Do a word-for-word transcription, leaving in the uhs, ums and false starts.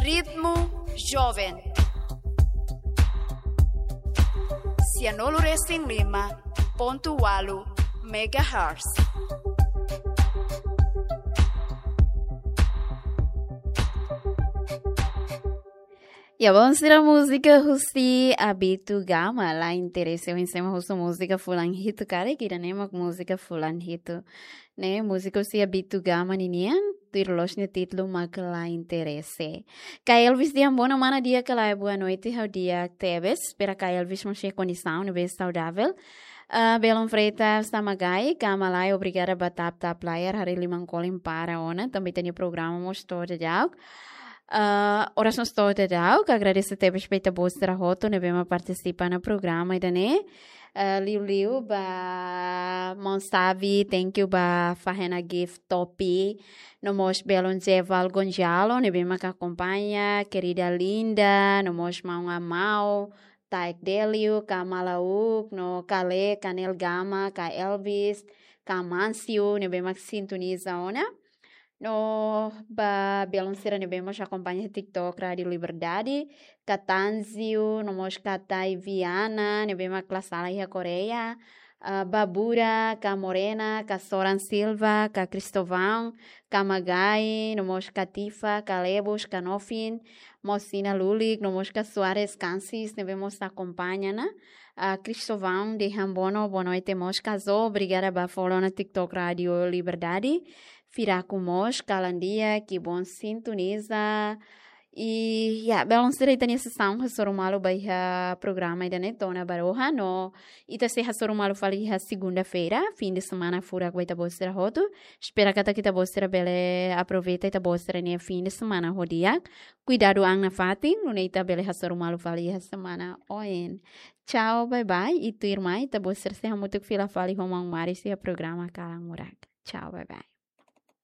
Ritmu Joven. Sianulu resin lima pontu walu megahertz. Ya, bom, sira múzika husi Abitu Gama, La Interese. Ohin ema husu múzika fulan hitu karik, ida-ne'e mak múzika fulan hitu. Ne'e, múzika husi Abitu Gama ninian, tuir loos nia títulu mak La Interese. Ka Elvis dehan boa noite, mana di'ak ka lae, boa noite, ha'u di'ak tebes. Espera ka Elvis mós iha kondisaun ne'ebé saudavel. Ah, Belon Freitas Tamagai, Gama Lae, obrigada ba tap tap layar, haree liman kolin para ona, tanba ita-nia programa mós to'o daudauk. Ah, orasaun to'o daudauk, agradese tebes ba ita-boot sira hotu ne'ebé mak partisipa iha programa ida-ne'e. Ah, liuliu ba Maun Savi, thank you ba Fahena Gift Topi, no mós Belon Jeval Gonzalo, ne'ebé mak akompaña, querida Linda, no mós Maun Amau, Taek Delio, ka Malauk, no Kale, Kanel Gama, ka Elvis, ka Mansiu, ne'ebé mak sintoniza ona. No ba belun sira ne'ebé mós akompaña TikTok Rádio Liberdade, ka Tanzio, no mós ka Taiviana, ne'ebé mak la sala iha Koreia, ah, Babura, ka Morena, ka Soran Silva, ka Cristovão, ka Magai, no mós ka Tifa, ka Lebos, ka Nofin, Mosina Lulik, no mós ka Soares Kansis, ne'ebé mós akompaña ona. Ah, Cristovão dehan boa no-, boa noite mós ka Zo, obrigada ba follow ona TikTok Rádio Liberdade. Firaku mós, kalan di'ak, kibon sintoniza. I, ya, belun sira, ita-nia sesaun hasoru malu ba iha programa ida-ne'e to'o ona ba rohan, no ita sei hasoru malu fali iha segunda-feira, fim de semana furak ba ita-boot sira hotu. Espera katak ita-boot sira bele aproveita ita-boot sira-nia fim de semana ho di'ak. Kuidadu an nafatin, nune'e ita bele hasoru malu fali iha semana oin. Tchau, bye bye. I tuirmai, ita-boot sira sei hamutuk fila fali ho maun Maris iha programa Kalan Murak. Tchau, bye bye.